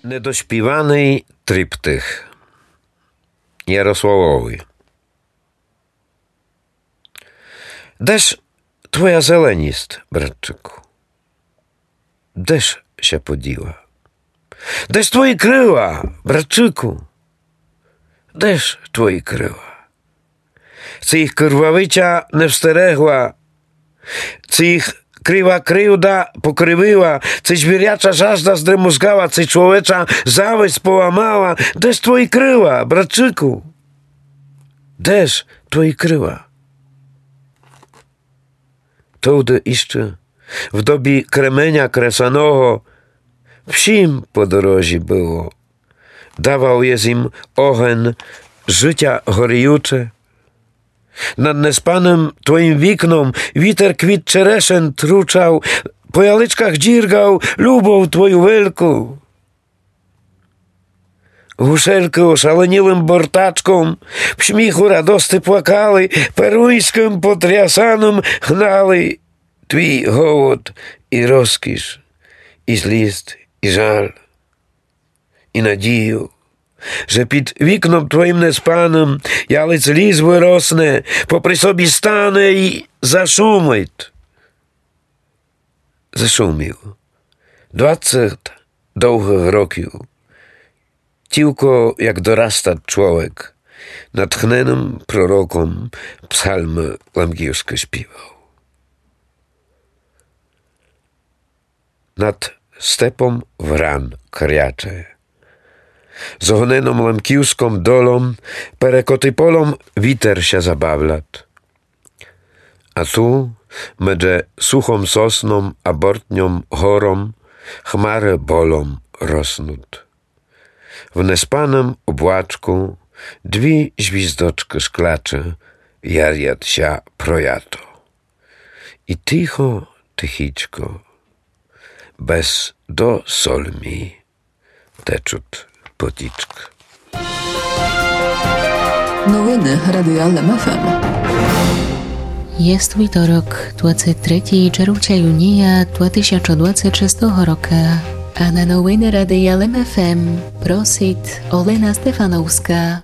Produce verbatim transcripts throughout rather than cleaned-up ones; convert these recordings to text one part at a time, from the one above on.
Недоспіваный триптих. Ярославови. Де ж твоя зеленіст, братчыку? Де ж ся поділа? Де ж твої крыла, братчыку? Де ж твої крыла? Ци їх кырвавиця не встерегла, ци їх крива кривда покривила, ци звіряча жажда здремузгала, ци чоловеча зависть поламала. Де ж твої крыла, братчыку? Де ж твої крыла? Товды іщы, в добі кременя кресаного, всім по дорозі было. Давал єс ім оген жытя горіючы. Над неспаным твоім вікном вітер квіт черешен тручал, по яличках дзіргал любов твою велку. Гушелькы ошаленілым бортачком в сміху радости плакали, перуньскым потрясаным гнали твій голод і розкіш, і зліст, і жаль, і надію, же під вікном твоім неспаным ялець ліс выросне, попри собі стане і зашумить. Зашуміл. Двадцет довгых років. Тілько як дорастат чоловік, натхненым пророком псалмы лемківскы співал. Над степом вран кряче. З огненом лемківском долом перекоты полом вітер ся забавлят. А ту, медже сухом сосном а бортньом гором, хмары болом роснут. В неспаным облачку дві звіздочкы шклячы ярят ся про ято. І тихо, тихічко, без до сольмі течут потічкы. Новины Радия Лем ФМ. Єст вівторок, двадцет третій червця юнія два тисячы двадцет шестого рока. А на новины Радия Лем ФМ просит Олена Стефановска.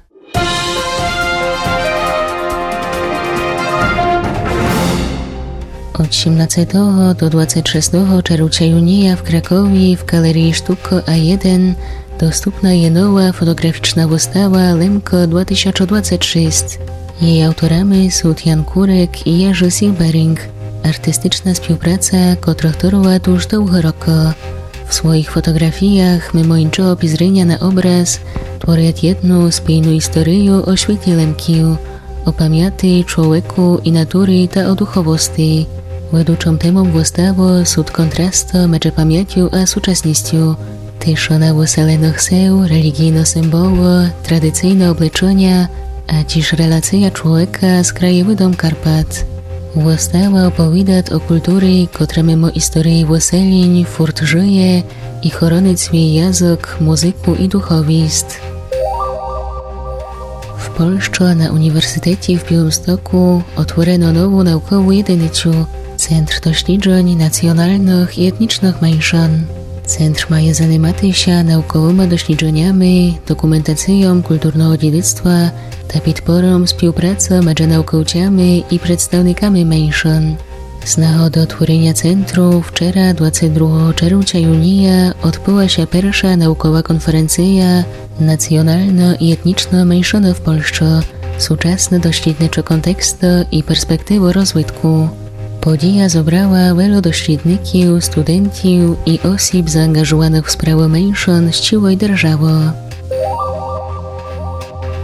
Од сімнадцетого до двадцет шестого червця юнія в Кракові в ґалереї Штуко А єден доступна є нова фотоґрафічна выстава Лемко два тисячы двадцет шість. Єй авторами сут Ян Курек і Єжы Сілберінґ. Артистична співпраца, котру тырват уж довгы рокы. В своіх фотоґрафіях, мимо іншого пізреня на образ, творят єдну спільну історию о світі Лемків, о памяти, чоловіку і натурі та о духовости. Ведучом темом выставы сут контрасты медже памятю а сучасністю. Тиша на выселенох сел, реліґійны символы, традицийны облечыня, а тіж релация чоловіка з краєвидом Карпат. Выстава оповідат о культурі, котра мимо історії выселень фурт жыє і хоронит свій язык, музыку і духовіст. В Польщы на університеті в Білымстоку отворено нову наукову єдиницю — Центр досліджень націоналных і етнічных меншын. Центр має занимати ся науковыма дослідженями, документацийом культурного дідицтва та підпором співпрацы медже науковцями і представниками меншын. З нагоды отвореня центру вчера, двадцет другого червця юнія, одбыла ся перша наукова конференция Націоналны і етнічны меншыны в Польщы. Сучасны дослідничы контексты і перспективы розвитку. Подія зобрала велю дослідників, студентів і осіб заанґажованых в справы меншын з цілой державы.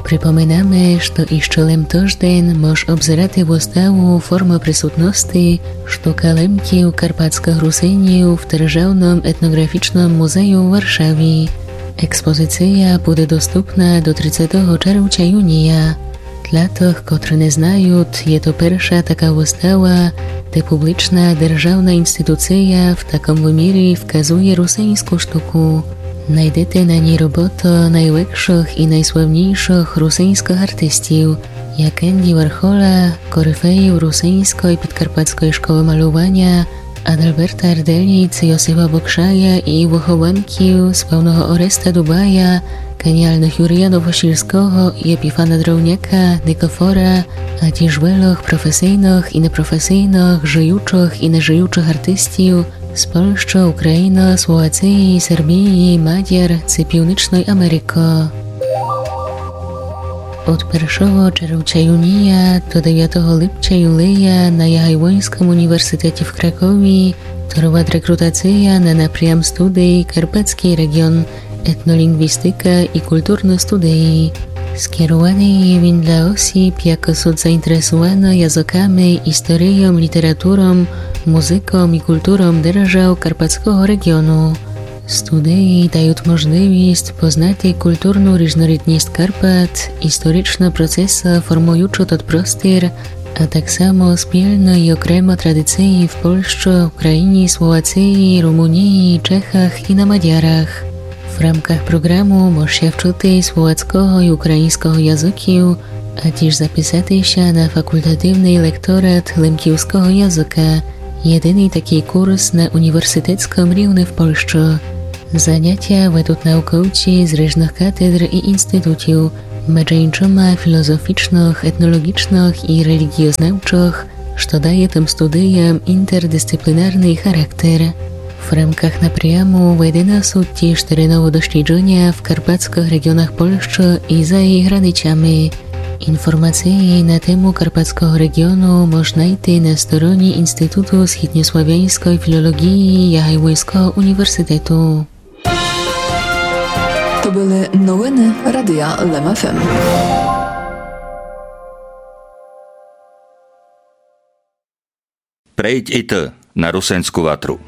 Припоминаме, што іщы лем тыжден мож обзерати выставу «Формы присутности. Штука Лемків, карпатскых Русинів» в Державным етноґрафічным музею в Варшаві. Експозиция буде доступна до тридцетого червця юнія. Для тых, котры не знают, є то перша така выстава, де публічна державна інституция в такым вымірі вказує русиньску штуку. Найдете на ній роботы найвекшых і найславнійшых русиньскых артистів, як Енді Вархола, корифеїв русиньской підкарпатской школы малюваня, Адальберта Арделіц, Йосифа Бокшая і Вохованків, Спавного Ореста Дубая, Каніалных Юрія Новосільского і Епіфана Дровняка, Никафора, а тіж вельох професийных і непрофесийных, жыючых і нежыючых артистів з Польщы, Україны, Словациі, Сербіі, Мадяр ци Північной Америкы. Од першого червця юнія до девятого липця юлія на Ягайлоньскым університеті в Кракові товарит рекрутація на напрям студий Карпатскій реґіон, етнолінґвістика і културны студії. Скеруваный є він для осіб, якы сут заінтересуваны языками, історийом, літературом, музыком і културом держав Карпатского реґіону. Студії дають можливіст познати културну різнорідніст Карпат, історичны процесы, формуючы тот простір, а так само спільны і окремо традиції в Польщы, Україні, Словациі, Румунії, Чехах і на Мадярах. В рамках програму мож ся вчыти словацького і україньского языків, а тіж записати ся на факултативный лекторат лемківского языка, єдиный такій курс на університетскым рівни в Польщы. Занятя ведуть науковці з ріжных катедр і інститутів, меджі іншыма філозофічных, етнолоґічных і реліґіознавчых, што дає тым студіям інтердисциплінарный характер. В рамках напряму ведены сут тіж тереновы досліджыня в карпатскых реґіонах Польщы і за її границями. Інформациі на тему Карпатского реґіону мож найти на стороні Інституту східньославяньской філолоґії Ягайлоньского університету. То были новины Радия Лем ФМ. Прийдь і ты на Русинську ватру.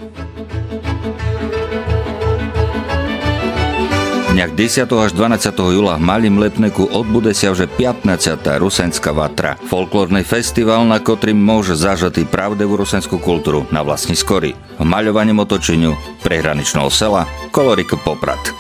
Днях десятого аж дванадцятого юла в Малім Липнику одбуде ся вже пятнадцята Русинська ватра, фолклорный фестівал, на котрім мож зажыти правдиву русинську културу на власній скорі, в мальованім оточеню приграничного села коло рікы Попрад.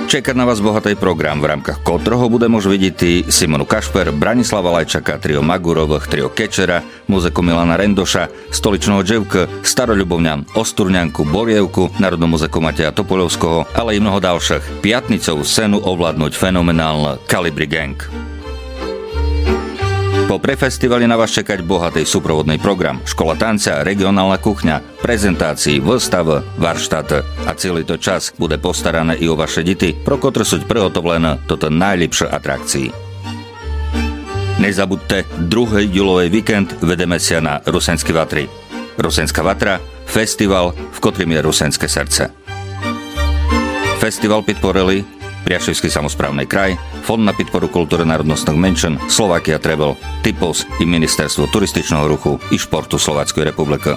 Чека на вас богатый програм, в рамках котрого буде мож видіти Симону Кашпер, Браніслава Лайчака, тріо Маґуровых, тріо Кечера, музыку Мілана Рендоша, Столичного Дживкы, Старолюбовнян, Остурнянку, Борєвку, народну музыку Матея Топольовского, але і много далшых. Пятницову сцену овладнуть феноменалны Калібрі Ґенґ. Попри фестівалі на вас чекать богатый супроводный програм: школа танця, реґіонална кухня, презентациі, выставы, варштаты. А цілый тот час буде постаране і о ваше діти, про котры суть приготовлены тоты найліпшы атракциі. Не забудте, другый юловый вікенд видиме ся на Русинській ватрі. Русинська ватра — фестівал, в котрім є русинське серце. Фестівал підпорили Пряшівськый самосправный край, Фонд на підпору културы народностных меншин, Словакія Тревел, Типос і Міністерство туристичного руху і шпорту Словацькой републикы.